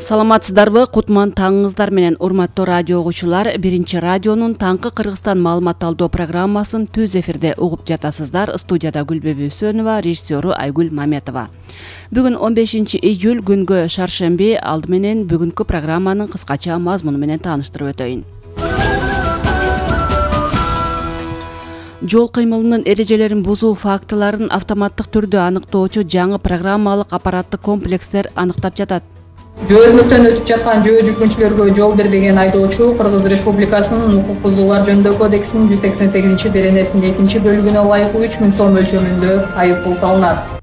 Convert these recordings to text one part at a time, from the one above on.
Саламатсыздарбы? Кутман таңыңыздар менен урматтуу радио угуучулар. Биринчи радионун таңкы Кыргызстан маалымат алуу программасын түз эфирде угуп жатасыздар. Студияда Гүлбүбү Сөнова, режиссеру Айгүл Маметова. Бүгүн 15 июль күнгө шаршемби. Алды менен бүгүнкү программанын кыскача мазмуну менен тааныштырып өтөйүн. Жол кыймылынын эрежелерин бузуу фактыларын автоматтык түрдө аныктоочу жаңы программалык аппараттык комплекстер аныктап жатат. Жөө-өрнөктөн өтүп жаткан жөө жүргүнчүлөргө жол бербеген айдоочу Кыргыз Республикасынын укук бузуулар жөнүндө кодексинин 188-беренесинин 2-бөлүгүнө ылайык 3000 сом мөлчөрүндө айып пул салынат.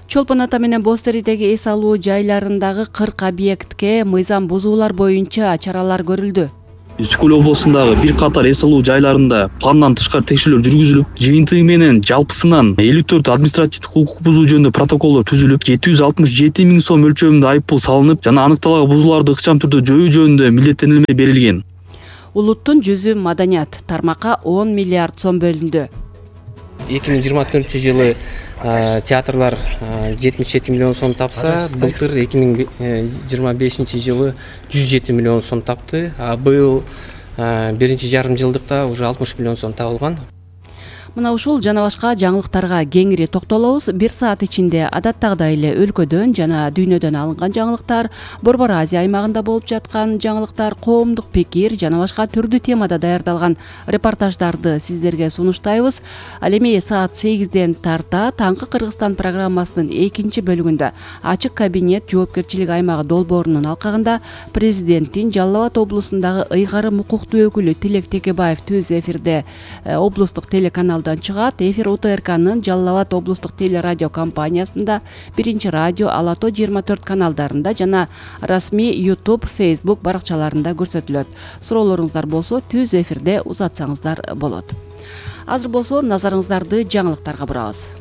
Чолпон ата менен Бостеридеги эс алуу жайларындагы 40 объектке мыйзам бузуулар боюнча чаралар көрүлдү. Үскөл облусундагы бир катар эс алуу жайларында пландан тышкары текшерүүлөр жүргүзүлүп, жыйынтыгы менен жалпысынан 54 административдик укук бузуу жөнүндө протоколдор түзүлүп, 767 000 сом мөлчөрүндө айып пул салынып, жана аныкталган бузууларды ыкчам түрдө жоюу жөнүндө милдеттенилме берилген. Улуттун жүзү маданият тармакка 10 миллиард сом бөлүндү. 2024-жылы театрлар 77 миллион сом тапса, былтыр 2025-жылы 107 миллион сом тапты. Быйыл биринчи жарым жылдыкта уже 60 миллион сом табылган. Мына ушул жана башка жаңылыктарга кеңири токтолобуз. 1 саат ичинде адаттагыдай эле өлкөдөн жана дүйнөдөн алынган жаңылыктар, Борбор Азия аймагында болуп жаткан жаңылыктар, коомдук пикир жана башка түрдүү темада даярдалган репортаждарды сиздерге сунуштайбыз. Ал эми саат 8ден тарта таңкы Кыргызстан программасынын 2-бөлүгүндө ачык кабинет жоопкерчилик аймагы долбоорунун алкагында президенттин Жалал Абад облусундагы ыйгарым укуктуу өкүлү Тилек Текебаев түз эфирде облустук телеканалдан чыгат. Эфир УТРКнын Жалал Абад облустук телерадио компаниясында, биринчи радио, Ала Тоо 24 каналдарында жана расмий YouTube, Facebook баракчаларында көрсөтүлөт. Суроолоруңуздар болсо түз эфирде узатсаңыздар болот. Азыр болсо назарыңыздарды жаңылыктарга бурабыз.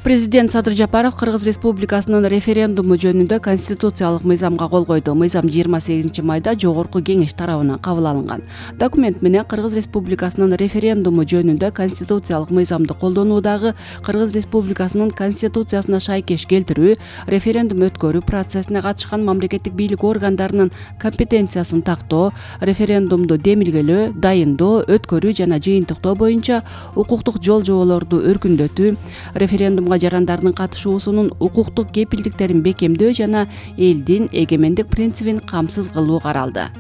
Президент Садыр Жапаров Кыргыз Республикасынын референдуму жөнүндө конституциялык мыйзамга кол койду. Мыйзам 28 майда Жогорку Кеңеш тарабынан кабыл алынган. Документ менен Кыргыз Республикасынын референдуму жөнүндө конституциялык мыйзамды колдонуудагы Кыргыз Республикасынын конституциясына шайкеш келтирүү, референдум өткөрүү процессине катышкан мамлекеттик бийлик органдарынын компетенциясын тактоо, референдумду демилгелөө, дайындоо, өткөрүү жана жыйынтыктоо боюнча укуктук жол-жоболорду өркүндөтүү, референдумга жарандардын катышуусунун укуктук кепилдиктерин бекемдөө жана элдин эгемендик принцибин камсыз кылуу каралды.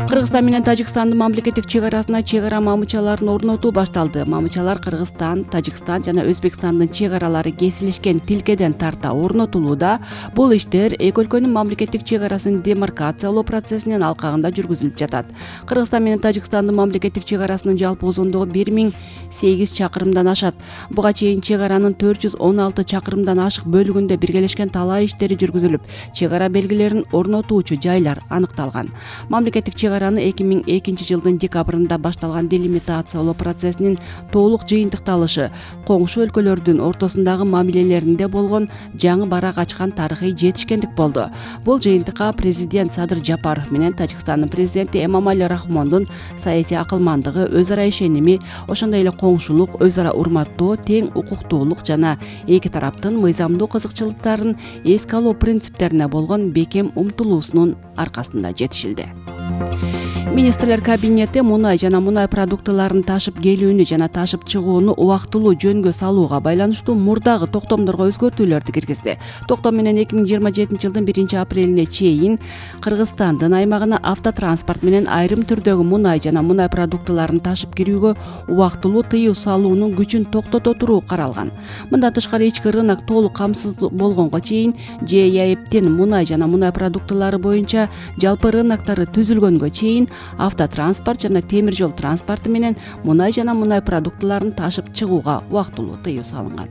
Кыргызстан менен Тажикстандын мамлекеттик чек арасына чек ара мамычаларын орнотуу башталды. Мамычалар Кыргызстан, Тажикстан жана Өзбекстандын чек аралары кесилишкен тилкеден тарта орнотулууда. Бул иштер эки өлкөнүн мамлекеттик чек арасын демаркациялоо процессинин алкагында жүргүзүлүп жатат. Кыргызстан менен Тажикстандын мамлекеттик чек арасынын жалпы узундугу 1008 чакырымдан ашат. Буга чейин чек аранын 416 чакырымдан ашык бөлүгүндө биргелешкен талаа иштери жүргүзүлүп, чек ара белгилерин орнотуучу жайлар аныкталган. Мамлекеттик чек араны 2002 жылдын декабрында башталган делимитациялоо процессинин толук жыйынтыкталышы, коңшу өлкөлөрдүн ортосундагы мамилелеринде болгон жаңы барак ачкан тарыхый жетишкендик болду. Бул жыйынтыкка президент Садыр Жапаров менен Тажикстандын президенти Эмомали Рахмондун саясий акылмандыгы, өз ара ишеними, ошондой эле коңшулук, өз ара урматтоо, тең укуктуулук жана эки тараптын мыйзамдуу кызыкчылыктарын эске алуу принциптерине болгон бекем умтулуусунун аркасында жетишилди. Министрлер кабинети мунай жана мунай продуктыларын ташып келүүнү жана ташып чыгууну убактылуу жөнгө салууга байланыштуу мурдагы токтомдорго өзгөртүүлөрдү киргизди. Токтом менен 2027 жылдын 1-апрелине чейин Кыргызстандын аймагына автотранспорт менен айрым түрдөгү мунай жана мунай продуктыларын ташып кирүүгө убактылуу тыюу салуунун күчүн токтото туруу каралган. Мындан тышкары ички рынок толук камсыз болгонго чейин ЖЭИАПтин мунай жана мунай продуктылары боюнча жалпы рыноктары түзүлгөнгө чейин автотранспорт жана темир жол транспорту менен мунай жана мунай продуктыларын ташып чыгууга убактылуу тыюу салынган.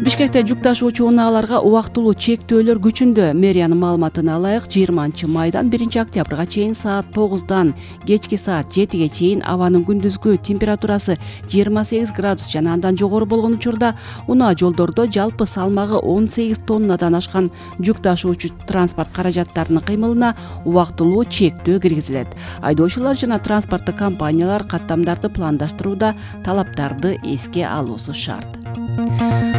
Бишкекте жүк ташуучу унааларга убактылуу чектөөлөр күчүндө. Мэриянын маалыматына ылайык 20 майдан 1 октябрга чейин саат 9-дан кечки саат 7ге чейин абанын күндүзгү температурасы 28 градус жана андан жогору болгон учурда унаа жолдордо жалпы салмагы 18 тоннадан ашкан жүк ташуучу транспорт каражаттарынын кыймылына убактылуу чектөө киргизилет. Айдоочулар жана транспорттук компаниялар каттамдарды пландаштырууда талаптарды эске алуусу шарт.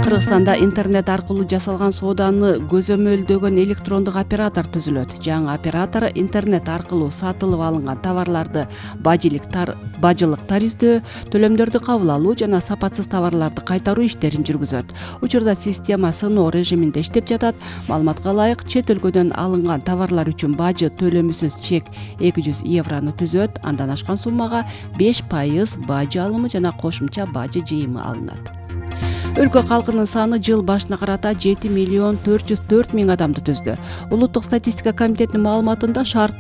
Кыргызстанда интернет аркылуу жасалган сооданы көзөмөлдөгөн электрондук оператор түзүлөт. Жаңы оператор интернет аркылуу сатылып алынган товарларды бажылык тариздөө, төлөмдөрдү кабыл алуу жана сапатсыз товарларды кайтаруу иштерин жүргүзөт. Учурда система сыноо режиминде иштеп жатат. Маалыматка ылайык, чет өлкөдөн алынган товарлар үчүн бажы төлөмүсүз чек 200 еврону түзөт. Андан ашкан суммага 5% бажы алымы жана кошумча бажы жыйымы алынат. Өлкө калкынын саны жыл башына карата 7,404,000 адамды түздү. Улуттук статистика комитетинин маалыматында шаар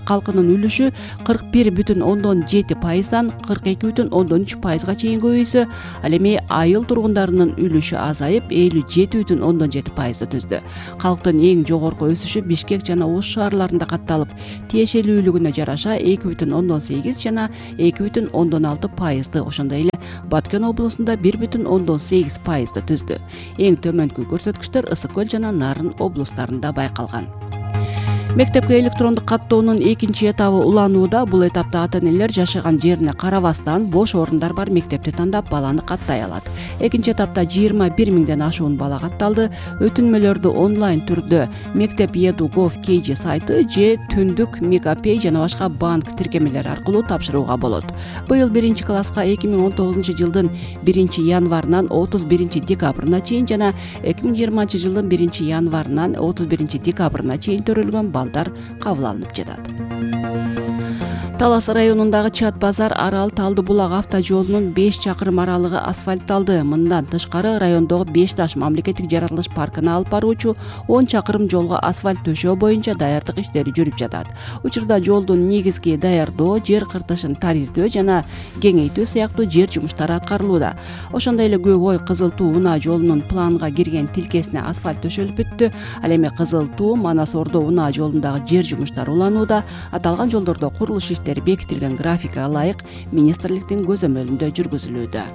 калкынын үлүшү 41,7%дан 42,3%га чейин көбөйсө, ал эми айыл тургундарынын үлүшү азайып 57,7%ды түздү. Калктын эң жогорку өсүшү Бишкек жана Ош шаарларында катталып, тиешелүүлүгүнө жараша 2,8 жана 2,6%ды, ошондой эле Баткен облусунда 1,8%ды түздү. Эң төмөнкү көрсөткүчтөр Ысык көл жана Нарын облустарында байкалган. Мектепке электрондук каттоонун экинчи этабы уланууда. Бул этапта ата-энелер жашаган жерине карабастан бош орундар бар мектепти тандап баланы каттай алат. Экинчи этапта 21 миңден ашуун бала катталды. Өтүнмөлөрдү онлайн түрдө Мектеп Edu.gov.kg сайты же түндүк Мегапей жана башка банк тиркемелери аркылуу тапшырууга болот. Быйыл 1 класска 2019 жылдын 1 январынан 31 декабрына чейин жана 2020 жылдын 1 январынан 31 декабрына чейин төрөлгөн балдар кабыл алынып жатат. Талас районундагы Чат базар Арал Талды булак автожолунун 5 чакырым аралыгы асфальтталды. Мындан тышкары райондогу 5 таш мамлекеттик жаратылыш паркына алып баруучу 10 чакырым жолго асфальт төшөө боюнча даярдык иштери жүрүп жатат. Учурда жолдун негизги даярдоо, жер кыртышын тариздөө жана кеңейтүү сыяктуу жер жумуштары аткарылууда. Ошондой эле Көк Ой Кызыл Туу унаа жолунун планга кирген тилкесине асфальт төшөлүп бүттү. Ал эми Кызыл Туу Манас Ордо унаа жолундагы жер жумуштары уланууда. Аталган жолдордо курулуш бекитилген графикага ылайык министрликтин көзөмөлүндө жүргүзүлүүдө.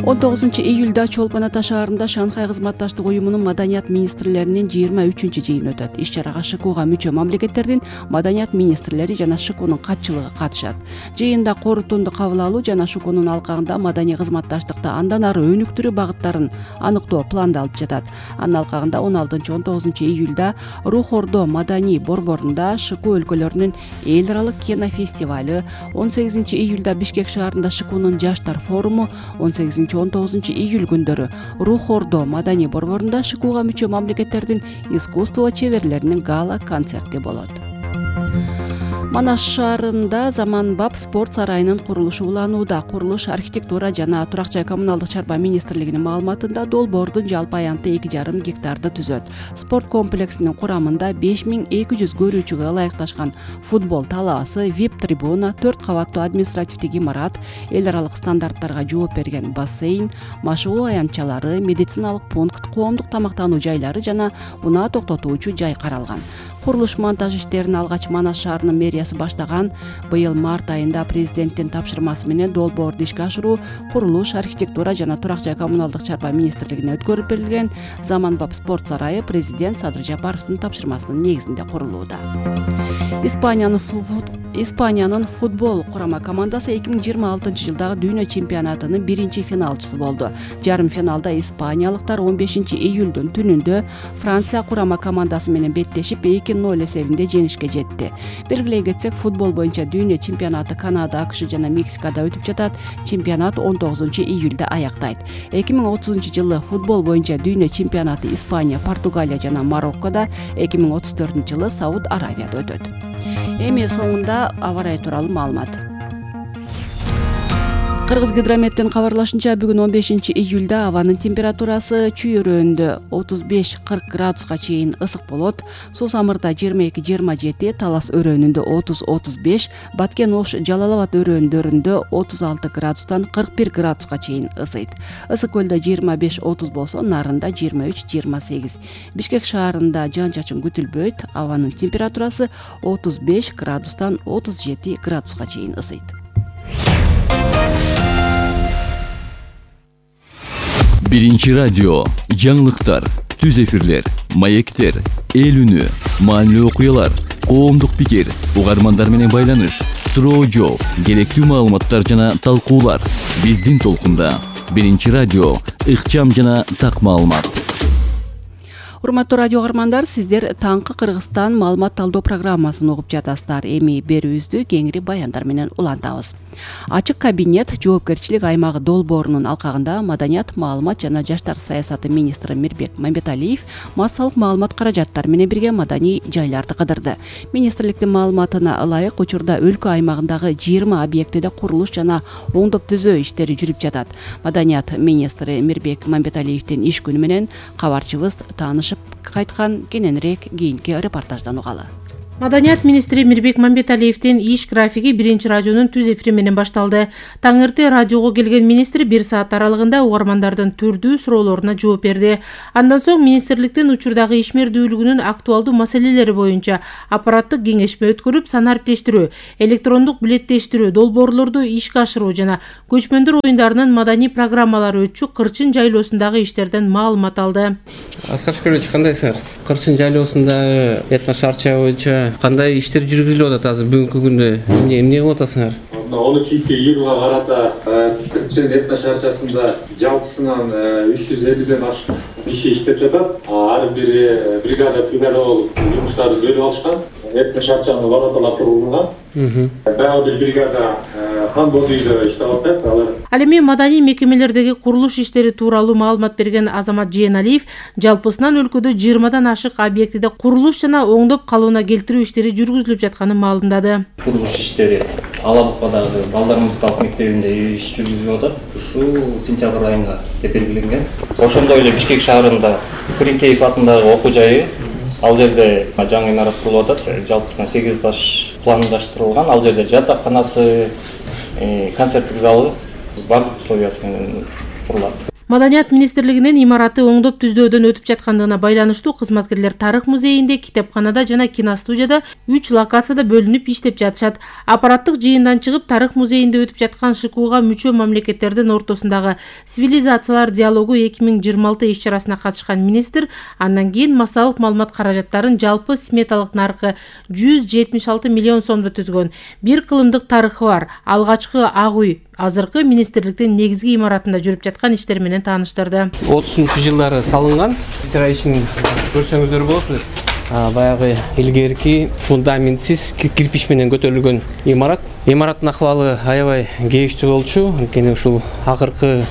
19 июлда Чолпон Ата шаарында Шанхай кызматташтык уюмунун маданият министрлеринин 23 жыйыны өтөт. Иш-чарага ШКУга мүчө мамлекеттердин маданият министрлери жана ШКУнун катчылыгы катышат. Жыйында корутунду кабыл алуу жана ШКУнун алкагында маданий кызматташтыкта андан ары өнүктүрүү багыттарын аныктоо пландалып жатат. Анын алкагында 16-19 июлда Рух Ордо маданий борборунда ШКУ өлкөлөрүнүн эл аралык кинофестивалы, 18 июлда Бишкек шаарында ШКУнун жаштар форуму, 18-19 июль күндөрү Рух Ордо маданий борборунда ШКУга мүчө мамлекеттердин искусство чеберлеринин гала концерти болот. Манаш шаарында заманбап спорт сарайынын курулушу уланууда. Курулуш архитектура жана турак жай коммуналдык чарба министрлигинин маалыматында долбоордун жалпы аянты 2,5 гектарды түзөт. Спорт комплексинин курамында 5200 көрүүчүгө ылайыкташкан футбол талаасы, VIP трибуна, 4 кабаттуу административдик имарат, эл аралык стандарттарга жооп берген бассейн, машыгуу аянтчалары, медициналык пункт, коомдук тамактануу жайлары жана унаа токтотуучу жай каралган. Курулуш монтаж иштерин алгач Манаш шаарынын мэриясы баштаган. Быйыл март айында президенттин тапшырмасы менен долбоорду ишке ашыруу курулуш, архитектура жана турак жай коммуналдык чарба министрлигине өткөрүп берилген. Заманбап спорт сарайы президент Садыр Жапаровдун тапшырмасынын негизинде курулууда. Испаниянын футбол курама командасы 2026 жылдагы дүйнө чемпионатынын 1-финалчысы болду. Жарым финалда испаниялыктар 15 июлдун түнүндө Франция курама командасы менен беттешип 2-0 эсебинде жеңишке жетти. Белгилей кетсек, футбол боюнча дүйнө чемпионаты Канада, АКШ жана Мексикада өтүп жатат. Чемпионат 19 июлда аяктайт. 2030 жылы футбол боюнча дүйнө чемпионаты Испания, Португалия жана Мароккода, 2034 жылы Сауд Аравияда өтөт. Эми соңунда аба ырайы тууралуу маалымат. Кыргызгидрометтин кабарлашынча бүгүн 15 июлда абанын температурасы чүй өрөөндө 35-40 градуска чейин ысык болот. Суу самырда 22-27, Талас өрөөнүндө 30-35, Баткен Ош, Жалал-Абад өрөөндөрүндө 36 градустан 41 градуска чейин ысыйт. Ысык көлдө 25-30 болсо, Нарында 23-28. Бишкек шаарында жаан-чачын күтүлбөйт. Абанын температурасы 35 градустан 37 градуска чейин ысыйт. Биринчи радио, жаңылыктар, түз эфирлер, маектер, эл үнү, маанилүү окуялар, коомдук пикир, угармандар менен байланыш, суроо жооп, керектүү маалыматтар жана талкуулар. Биздин толкунда Биринчи радио, ыкчам жана так маалымат. Урматтуу радио угармандар, сиздер таңкы Кыргызстан маалымат талдоо программасын угуп жатасыздар. Эми берүүбүздү кеңири баяндар менен улантабыз. Ачык кабинет жоопкерчилик аймагы долбоорунун алкагында Маданият, маалымат жана жаштар саясаты министри Мирбек Мамбеталиев массалык маалымат каражаттары менен бирге маданий жайларды кыдырды. Министрликтин маалыматына ылайык, учурда өлкө аймагындагы 20 объектиде курулуш жана оңдоп түзөө иштери жүрүп жатат. Маданият министри Мирбек Мамбеталиевдин иш күнү менен кабарчыбыз таанышып кайткан. Кененирээк кийинки репортаждан угалы. Маданият министри Мирбек Мамбеталиевдин иш графиги Биринчи радионун түз эфири менен башталды. Таңырты радиого келген министр 1 саат аралыгында угармандардын түрдүү суроолоруна жооп берди. Андан соң министрликтин учурдагы ишмердүүлүгүнүн актуалдуу маселелери боюнча аппараттык кеңешме өткөрүп, санариптештирүү, электрондук билеттештирүү, долбоорлорду ишке ашыруу жана көчмөндөр оюндарынын маданий программалары өтчү Кырчын жайлоосундагы иштерден маалымат алды. Аскар Шүкүрович, кандайсыңар? Кырчын жайлоосундагы этно шаарча боюнча кандай иштер жүргүзүлүп атат азыр бүгүнкү күндө? Эмне кылып атасыңар? Оны кийинки июлга карата Кырчын этно шаарчасында жалпысынан 350ден ашык иши иштеп жатат. Ар бир бригада болуп жумуштарды бөлүп алышкан. Этно шаарчанын вороталары курулган. Дагы бир бригада Хан Бодуйдо иштеп атат. Ал эми маданий мекемелердеги курулуш иштери тууралуу маалымат берген Азамат Жээналиев жалпысынан өлкөдө 20дан ашык объектиде курулуш жана оңдоп калууна келтирүү иштери жүргүзүлүп жатканын маалымдады. Курулуш иштери Алабукадагы балдар музыкалык мектебинде иш жүргүзүлүп атат. Ушул сентябрь айында деп белгиленген. Ошондой эле Бишкек шаарында Куринкеев атындагы окуу жайы, ал жерде жаңы имарат курулуп атат. Жалпысынан 8 этаж пландаштырылган. Ал жерде жатаканасы, концерттик залы бардык условиясы менен курулат. Маданият министрлигинин имараты оңдоп түздөөдөн өтүп жаткандыгына байланыштуу кызматкерлер Тарых музейинде, китепканада жана киностудияда 3 локацияда бөлүнүп иштеп жатышат. Аппараттык жыйындан чыгып Тарых музейинде өтүп жаткан ШКУга мүчө мамлекеттердин ортосундагы цивилизациялар диалогу 2026 иш-чарасына катышкан министр андан кийин массалык маалымат каражаттарын жалпы сметалык наркы 176 миллион сомдо түзгөн. Бир кылымдык тарыхы бар. Алгачкы Ак үй азыркы министрликтин негизги имаратында жүрүп жаткан иштер менен тааныштырды. 30-жылдары салынган. Ишин көрсөңүздөр болот. Баягы илгерки фундаментсиз кирпич менен көтөрүлгөн имарат. Имараттын акыбалы аябай кээштүү болчу. Анткени ушул акыркы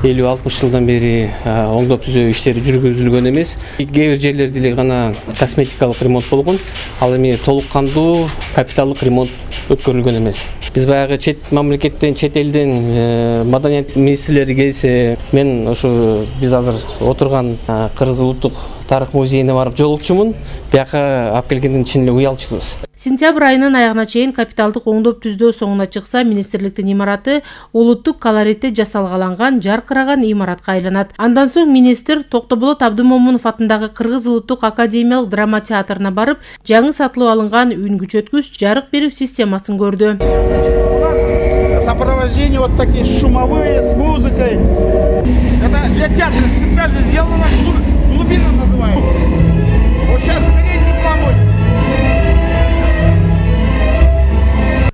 50-60 жылдан бери оңдоп түзөө иштери жүргүзүлгөн эмес. Кээ бир жерлерде эле гана косметикалык ремонт болгон. Ал эми толук кандуу капиталдык ремонт өткөрүлгөн эмес. Биз баягы чет мамлекеттен, чет элден маданият министрлери келсе, мен ошо биз азыр отурган Кыргыз улуттук тарых музейине барып жолукчумун. Бияка алып келгенден чын эле уялчубуз. Сентябрь айынын аягына чейин капиталдык оңдоп түздөө соңуна чыкса, министрликтин имараты улуттук колоритте жасалгаланган, жаркыраган имаратка айланат. Андан соң министр Токтоболот Абдымомунов атындагы Кыргыз улуттук академиялык драма театрына барып, жаңы сатылып алынган үн күчөткүч, жарык берүү системасын көрдү. Сопровождение вот такие шумовые с музыкой. Это для театра специально сделано, глубина называется. Вот сейчас передний план.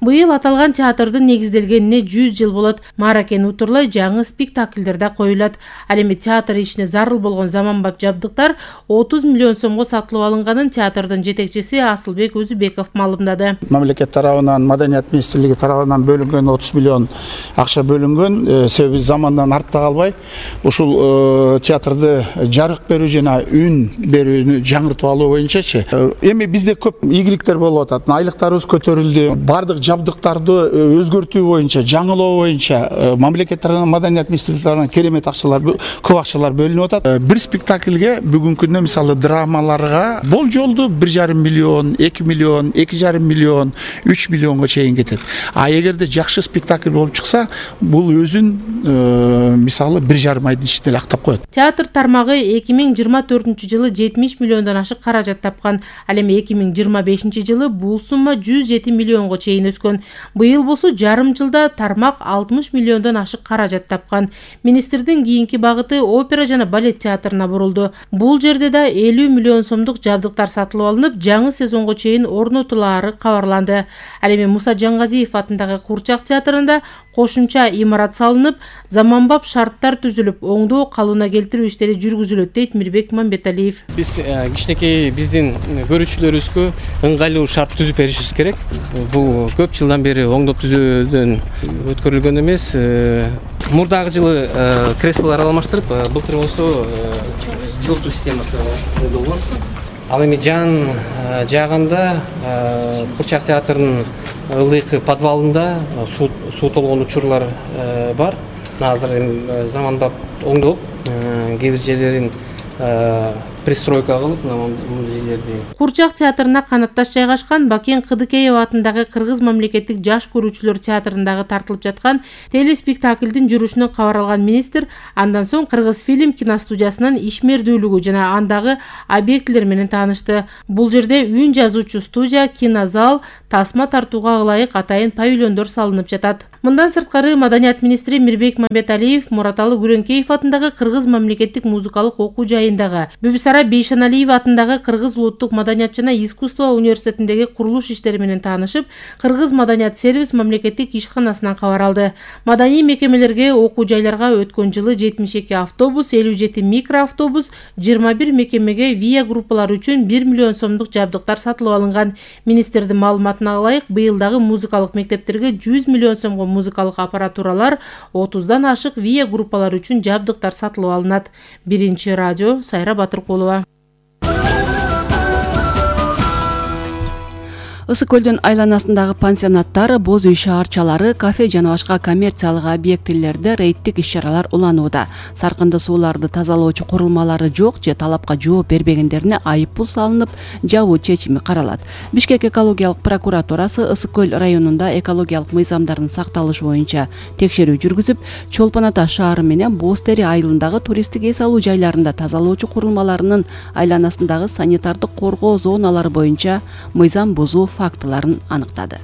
Быйыл аталган театрдын негизделгенине 100 жыл болот. Мааракен утурлай жаңы спектакльдер да коюлат. Ал эми театр ишине зарыл болгон заманбап жабдыктар 30 миллион сомго сатылып алынганын театрдын жетекчиси Асылбек Өзүбеков маалымдады. Мамлекет тарабынан, Маданият министрлиги тарабынан бөлүнгөн 30 миллион акча бөлүнгөн. Себеби замандан артта калбай, ушул театрды жарык берүү жана үн берүүнү жаңыртып алуу боюнчачы. Эми бизде көп ийгиликтер болуп атат. Айлыктарыбыз көтөрүлдү. Бардык жабдыктарды өзгөртүү боюнча, жаңылоо боюнча мамлекет тарабынан маданият министрлиги тарабынан керемет акчалар, көп акчалар бөлүнүп атат. Бир спектакльге бүгүнкү күндө мисалы драмаларга болжолду 1,5 миллион, 2 миллион, 2,5 миллион, 3 миллионго чейин кетет. А эгерде жакшы спектакль болуп чыкса, бул өзүн мисалы 1,5 айдын ичинде эле актап коет. Театр тармагы 2024-жылы 70 миллиондон ашык каражат тапкан. Ал эми 2025-жылы бул сумма 107 миллионго чейин өскөн. Быйыл болсо жарым жылда тармак 60 миллиондон ашык каражат тапкан. Министрдин кийинки багыты опера жана балет театрына бурулду. Бул жерде да 50 миллион сомдук жабдыктар сатылып алынып, жаңы сезонго чейин орнотулаары кабарланды. Ал эми Муса Жаңгазиев атындагы Курчак театрында кошумча имарат салынып, заманбап шарттар түзүлүп, оңдоо калыбына келтирүү иштери жүргүзүлөт дейт Мирбек Мамбеталиев. Биз кичинекей биздин көрүүчүлөрүбүзгө ыңгайлуу шарт түзүп беришибиз керек. Бул көп жылдан бери оңдоп түзөөдөн өткөрүлгөн эмес. Мурдагы жылы креслолор алмаштырып, былтыр болсо жылытуу системасы болгон. Ал эми жан жагында Курчак театрынын ылдыйкы подвалында суу толгон учурлар бар. Азыр эми заманбап оңдоп, кээ бир жерлерин пристройка кылып, бул жерлерди. Курчак театрына канатташ жайгашкан Бакен Кыдыкеев атындагы Кыргыз мамлекеттик жаш көрүүчүлөр театрындагы тартылып жаткан телеспектаклдин жүрүшүнөн кабар алган министр андан соң Кыргыз фильм киностудиясынын ишмердүүлүгү жана андагы объектилер менен таанышты. Бул жерде үн жазуучу студия, кинозал, тасма тартууга ылайык атайын павильондор салынып жатат. Мындан сырткары маданият министри Мирбек Мамбеталиев Мураталы Күрөңкеев атындагы Кыргыз мамлекеттик музыкалык окуу жайындагы, Бүбүсара Бейшеналиев атындагы Кыргыз улуттук маданият жана искусство университетиндеги курулуш иштери менен таанышып, Кыргыз маданият сервис мамлекеттик ишканасынан кабар алды. Маданий мекемелерге, окуу жайларга өткөн жылы 72 автобус, 57 микроавтобус, 21 мекемеге ВИА группалары үчүн 1 миллион сомдук жабдыктар сатылып алынган. Министрдин маалыматына ылайык, быйылдагы музыкалык мектептерге 100 миллион сомго музыкалык аппаратуралар, 30дан ашык ВИА группалары үчүн жабдыктар сатылып алынат. Биринчи радио, Сайра Батыркулова. Ысык көлдүн айланасындагы пансионаттар, боз үй шаарчалары, кафе жана башка коммерциялык объектилерде рейдтик иш-чаралар уланууда. Саркынды сууларды тазалоочу курулмалары жок же талапка жооп бербегендерине айып пул салынып, жабуу чечими каралат. Бишкек экологиялык прокуратурасы Ысык көл районунда экологиялык мыйзамдардын сакталышы боюнча текшерүү жүргүзүп, Чолпон Ата шаары менен Боз Тери айылындагы туристтик эс алуу жайларында тазалоочу курулмаларынын айланасындагы санитардык коргоо зоналары боюнча мыйзам бузуу фактыларын аныктады.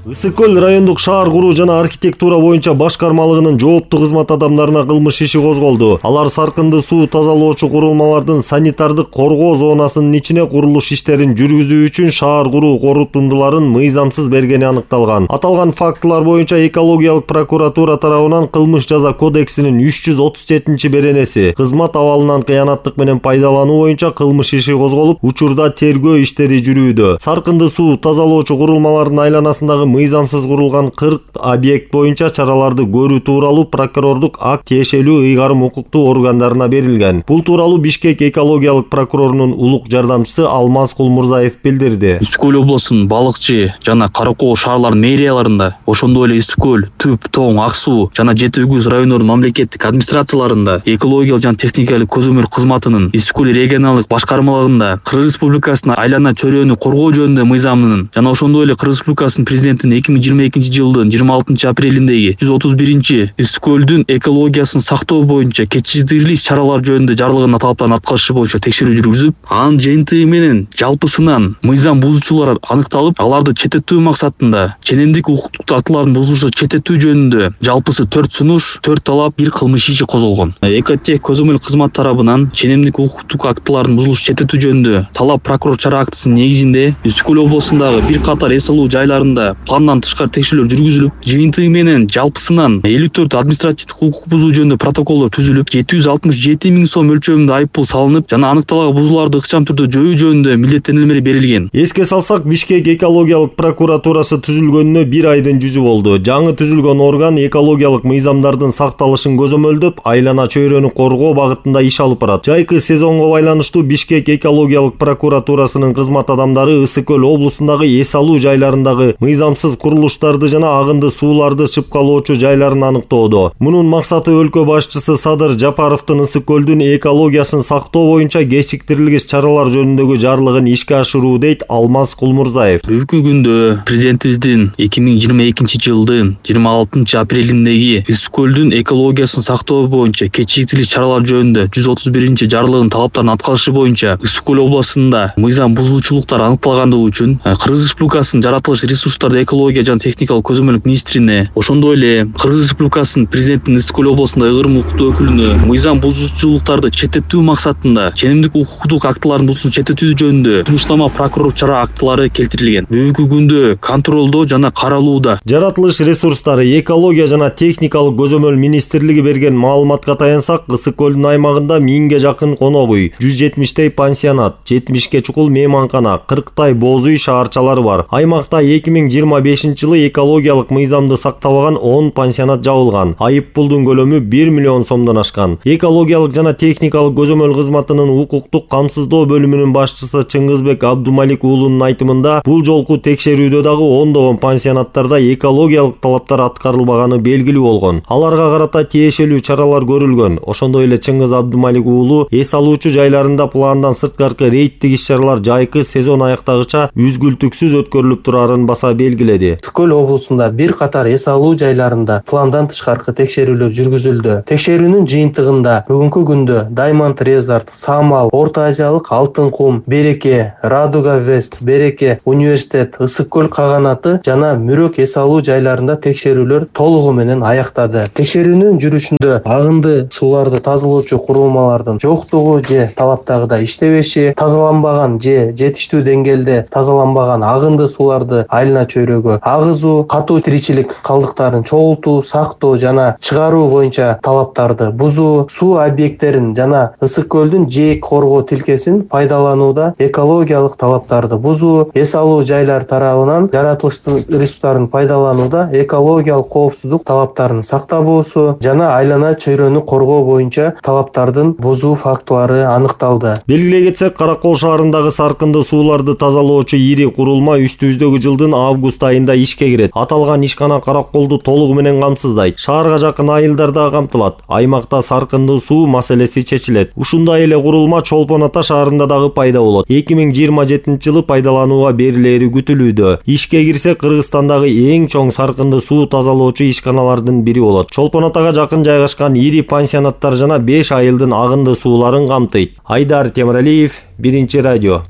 Ысык көл райондук шаар куруу жана архитектура боюнча башкармалыгынын жооптуу кызмат адамдарына кылмыш иши козголду. Алар саркынды суу тазалоочу курулмалардын санитардык коргоо зонасынын ичине курулуш иштерин жүргүзүү үчүн шаар куруу корутундуларын мыйзамсыз бергени аныкталган. Аталган фактылар боюнча экологиялык прокуратура тарабынан кылмыш жаза кодексинин 337-беренеси кызмат абалынан кыянаттык менен пайдалануу боюнча кылмыш иши козголуп, учурда тергөө иштери жүрүүдө. Саркынды суу тазалоочу курулмалардын айланасындагы мыйзамсыз курулган 40 объект боюнча чараларды көрүү тууралуу прокурордук акт тиешелүү ыйгарым укуктуу органдарына берилген. Бул тууралуу Бишкек экологиялык прокурорунун улук жардамчысы Алмаз Кулмурзаев билдирди. Ысык көл облусунун Балыкчы жана Каракоо шаарларынын мэрияларында, ошондой эле Ысык көл, Түп, Тоң, Ак суу жана Жети Үгүз райондорунун мамлекеттик администрацияларында, экологиялык жана техникалык көзөмөл кызматынын Ысык көл регионалдык башкармалыгында Кыргыз Республикасынын айлана чөйрөнү коргоо жөнүндө мыйзамынын жана ошондой эле Кыргыз Республикасынын президентинин 2022-жылдын 26 апрелиндеги 131 Ысык көлдүн экологиясын сактоо боюнча кечиштирилүү иш-чаралар жөнүндө жарылган талаптарын аткарышы боюнча текшерүү жүргүзүп, анын жыйынтыгы менен жалпысынан мыйзам бузуучулар аныкталып, аларды четтетүү максатында ченемдик укуктук актылардын бузулушу четтетүү жөнүндө жалпысы 4 сунуш, 4 талап, 1 кылмыш иши козголгон. Экотех көзөмөл кызмат тарабынан ченемдик укуктук актылардын бузулушу четтетүү жөнүндө талап прокурор чара актысынын негизинде Ысык көл облусундагы бир катар эс алуу жайларында пландан тышкары текшерүүлөр жүргүзүлүп, жыйынтыгы менен жалпысынан 54 административдик укук бузуу жөнүндө протоколдор түзүлүп, 767 000 сом өлчөмүндө айып пул салынып, жана аныкталган бузууларды ыкчам түрдө жоюу жөнүндө милдеттенүүлөр берилген. Эске салсак, Бишкек экологиялык прокуратурасы түзүлгөнүнө 1 айдын жүзү болду. Жаңы түзүлгөн орган экологиялык мыйзамдардын сакталышын көзөмөлдөп, айлана чөйрөнү коргоо багытында иш алып барат. Жайкы сезонго байланыштуу Бишкек экологиялык прокуратурасынын кызмат адамдары Ысык көл облусундагы эс алуу жайларындагы мыйзамсыз камсыз курулуштарды жана агынды сууларды чыпкалоочу жайларын аныктоодо. Мунун максаты өлкө башчысы Садыр Жапаровдун Ысык көлдүн экологиясын сактоо боюнча кечиктирилгис чаралар жөнүндөгү жарлыгын ишке ашыруу, дейт Алмаз Кулмурзаев. Бүгүнкү күндө президентибиздин 2022 жылдын 26 апрелиндеги Ысык көлдүн экологиясын сактоо боюнча кечиктирилгис чаралар жөнүндө 131 жарлыгынын талаптарын аткарышы боюнча Ысык көл областында мыйзам бузуучулуктар аныкталгандыгы үчүн Кыргыз Республикасынын жаратылыш ресурстарды экология жана техникалык көзөмөлдүк министрине, ошондой эле Кыргыз Республикасынын президентинин Ысык көл областында ыгырым укуктуу өкүлүнө мыйзам бузуучулуктарды четтетүү максатында ченемдик укуктук актылардын бузуусун четтетүү жөнүндө сунуштама прокурор чара актылары келтирилген. Бүгүнкү күндө контролдоо жана каралууда. Жаратылыш ресурстары, экология жана техникалык көзөмөл министрлиги берген маалыматка таянсак, Ысык көлдүн аймагында 1000ге жакын конок үй, 170 пансионат, 70 чукул мейманкана, 40 боз үй шаарчалары бар. Аймакта 2025 жылы экологиялык мыйзамды сактабаган 10 пансионат жабылган. Айып пулдун көлөмү 1 миллион сомдон ашкан. Экологиялык жана техникалык көзөмөл кызматынын укуктук камсыздоо бөлүмүнүн башчысы Чыңгызбек Абдумалик уулунун айтымында, бул жолку текшерүүдө дагы ондогон пансионаттарда экологиялык талаптар аткарылбаганы белгилүү болгон. Аларга карата тиешелүү чаралар көрүлгөн. Ошондой эле Чыңгыз Абдумалик уулу эс алуучу жайларында пландан сырткаркы рейдтик иш-чаралар жайкы сезон аяктагыча үзгүлтүксүз өткөрүлүп турарын баса белгиледи. Ысык көл облусунда бир катар эс алуу жайларында пландан тышкаркы текшерүүлөр жүргүзүлдү. Текшерүүнүн жыйынтыгында бүгүнкү күндө Diamond Resort, Самал, Орто Азиялык Алтын кум, Береке, Радуга Вест, Береке, Университет, Ысык көл каганаты жана Мүрөк эс алуу жайларында текшерүүлөр толугу менен аяктады. Текшерүүнүн жүрүшүндө агынды сууларды тазалоочу курулмалардын жоктугу же талаптагыдай иштебеши, тазаланбаган же жетиштүү деңгээлде тазаланбаган агынды сууларды айылына чөйрөгө агызуу, катуу тиричилик калдыктарын чогултуу, сактоо жана чыгаруу боюнча талаптарды бузуу, суу объекттерин жана Ысык көлдүн жээк коргоо тилкесин пайдаланууда экологиялык талаптарды бузуу, эс алуу жайлар тарабынан жаратылыш ресурстарын пайдаланууда экологиялык коопсуздук талаптарын сактабоосу жана айлана чөйрөнү коргоо боюнча талаптардын бузуу фактылары аныкталды. Белгилей кетсек, Каракол шаарындагы саркынды сууларды тазалоочу ири курулма үстүбүздөгү жылдын август айында ишке кирет. Аталган ишкана Караколду толугу менен камсыздайт. Шаарга жакын айылдар да камтылат. Аймакта саркынды суу маселеси чечилет. Ушундай эле курулма Чолпон Ата шаарында дагы пайда болот. 2027 жылы пайдаланууга берилери күтүлүүдө. Ишке кирсе, Кыргызстандагы эң чоң саркынды суу тазалоочу ишканалардын бири болот. Чолпон Атага жакын жайгашкан ири пансионаттар жана 5 айылдын агынды сууларын камтыйт. Айдар Темиралиев, Биринчи радио.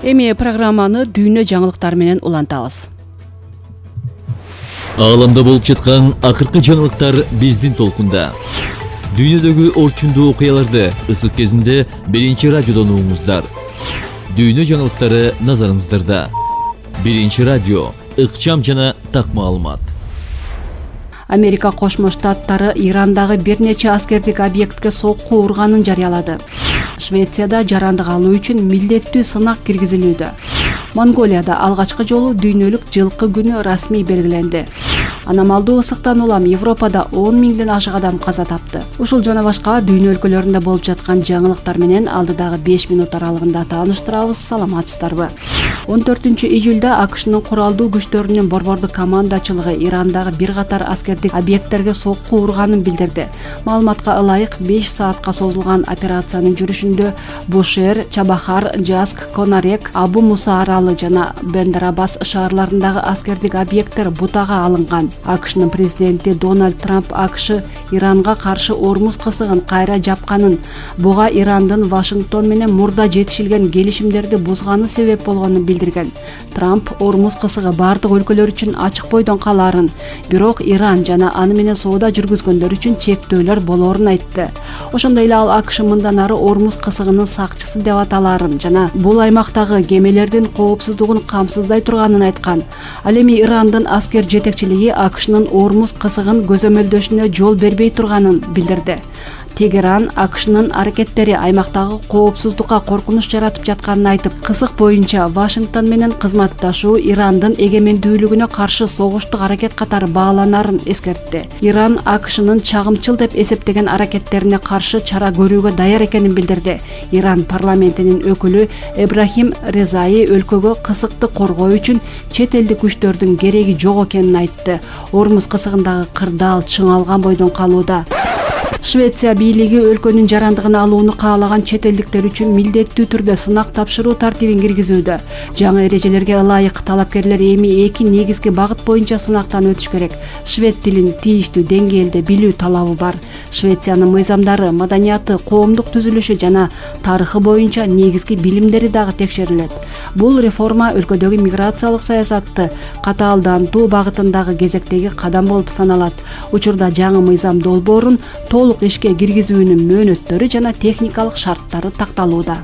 Эми программаны дүйнө жаңылыктары менен улантабыз. Ааламда болуп жаткан акыркы жаңылыктар биздин толкунда. Дүйнөдөгү орчундуу окуяларды ысык кезинде Биринчи радиодон угуңуздар. Дүйнө жаңылыктары назарыңыздарда. Биринчи радио, ыкчам жана так маалымат. Америка Кошмо Штаттары Ирандагы бир нече аскердик объектке сокку урганын жарыялады. Швецияда жарандык алуу үчүн милдеттүү сынак киргизилүүдө. Монголияда алгачкы жолу дүйнөлүк жылкы күнү расмий белгиленди. Аномалдуу ысыктан улам Европада 10 миңден ашык адам каза тапты. Ушул жана башка дүйнө өлкөлөрүндө болуп жаткан жаңылыктар менен алдыдагы 5 минут аралыгында тааныштырабыз. Саламатсыздарбы? 14-июлда АКШнын куралдуу күчтөрүнүн борбордук командачылыгы Ирандагы бир катар аскердик объекттерге сокку урганын билдирди. Маалыматка ылайык 5 саатка созулган операциянын жүрүшүндө Бушер, Чабахар, Жаск, Конарек, Абу Муса аралы жана Бендарабас шаарларындагы аскердик объекттер бутага алынган. АКШнын президенти Дональд Трамп АКШ Иранга каршы Ормуз кысыгын кайра жапканын, буга Ирандын Вашингтон менен мурда жетишилген келишимдерди бузганы себеп болгонун билдирген. Трамп Ормуз кысыгы бардык өлкөлөр үчүн ачык бойдон калаарын, бирок Иран жана аны менен соода жүргүзгөндөр үчүн чектөөлөр болоорун айтты. Ошондой эле ал АКШ мындан ары Ормуз кысыгынын сакчысы деп аталаарын жана бул аймактагы кемелердин коопсуздугун камсыздай турганын айткан. Ал эми Ирандын аскер жетекчилиги АКШнын Ормуз кысыгын көзөмөлдөшүнө жол бербей турганын билдирди. Тегеран АКШнын аракеттери аймактагы коопсуздукка коркунуч жаратып жатканын айтып, кысык боюнча Вашингтон менен кызматташуу Ирандын эгемендүүлүгүнө каршы согуштук аракет катары бааланарын эскертти. Иран АКШнын чагымчыл деп эсептеген аракеттерине каршы чара көрүүгө даяр экенин билдирди. Иран парламентинин өкүлү Эбрахим Резаи өлкөгө кысыкты коргоо үчүн чет элдик күчтөрдүн кереги жок экенин айтты. Ормуз кысыгындагы кырдаал чыңалган бойдон калууда. Швеция бийлиги өлкөнүн жарандыгын алууну каалаган чет элдиктер үчүн милдеттүү түрдө сынак тапшыруу тартибин киргизүүдө. Жаңы эрежелерге ылайык талапкерлер эми 2 негизги багыт боюнча сынактан өтүш керек. Швед тилин тийиштүү деңгээлде билүү талабы бар. Швециянын мыйзамдары, маданияты, коомдук түзүлүшү жана тарыхы боюнча негизги билимдери дагы текшерилет. Бул реформа өлкөдөгү миграциялык саясатты катаалдантуу багытындагы кезектеги кадам болуп саналат. Учурда жаңы мыйзам долбоорун толук ишке киргизүүнүн мөөнөттөрү жана техникалык шарттары такталууда.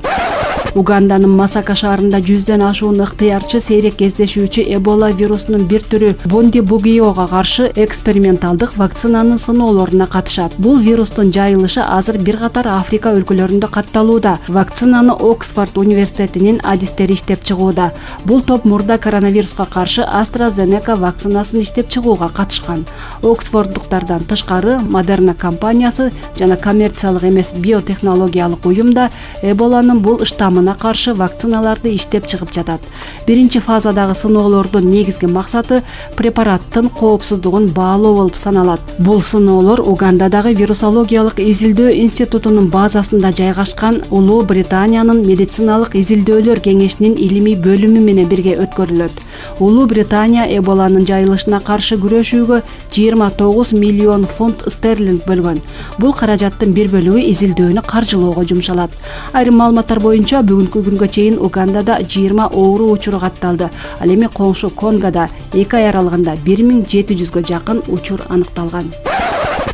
Уганданын Масака шаарында 100дөн ашуун ыктыярчы сейрек кездешүүчү Эбола вирусунун бир түрү Бундибугиога каршы эксперименталдык вакцинанын сыноолоруна катышат. Бул вирустун жайылышы азыр бир катар Африка өлкөлөрүндө катталууда. Вакцинаны Оксфорд университетинин адистери иштеп чыгууда. Бул топ мурда коронавируска каршы AstraZeneca вакцинасын иштеп чыгууга катышкан. Оксфорддуктардан тышкары Moderna компаниясы жана коммерциялык эмес биотехнологиялык уюм да Эболанын бул штаммына каршы вакциналарды иштеп чыгып жатат. Биринчи фазадагы сыноолордун негизги максаты препараттын коопсуздугун баалоо болуп саналат. Бул сыноолор Угандадагы вирусологиялык изилдөө институтунун базасында жайгашкан Улуу Британиянын медициналык изилдөөлөр кеңешинин илимий бөлүмү менен бирге өткөрүлөт. Улуу Британия Эболанын жайылышына каршы күрөшүүгө 29 миллион фунт стерлинг бөлгөн. Бул каражаттын бир бөлүгү изилдөөнү каржылоого жумшалат. Айрым маалыматтар боюнча бүгүнкү күнгө чейин Угандада 20 оору учуру катталды. Ал эми коңшу Конгода 2 ай аралыгында 1700гө жакын учур аныкталган.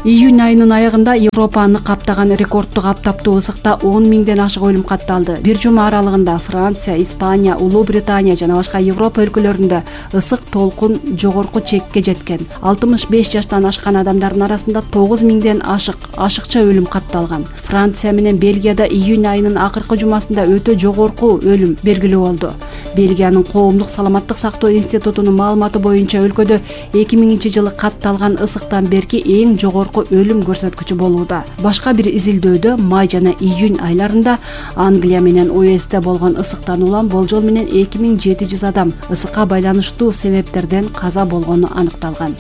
Июнь айынын аягында Европаны каптаган рекордтук аптаптуу ысыкта 10 миңден ашык өлүм катталды. Бир жума аралыгында Франция, Испания, Улуу Британия жана башка Европа өлкөлөрүндө ысык толкун жогорку чекке жеткен. 65 жаштан ашкан адамдардын арасында 9 миңден ашыкча өлүм катталган. Франция менен Бельгияда июнь айынын акыркы жумасында өтө жогорку өлүм белгилүү болду. Бельгиянын коомдук саламаттык сактоо институтунун маалыматы боюнча өлкөдө 2000-жылы катталган ысыктан берки эң жогорку өлүм көрсөткүчү болууда. Башка бир изилдөөдө май жана июнь айларында Англия менен УСТ болгон ысыктан улам болжол менен 2700 адам ысыкка байланыштуу себептерден каза болгону аныкталган.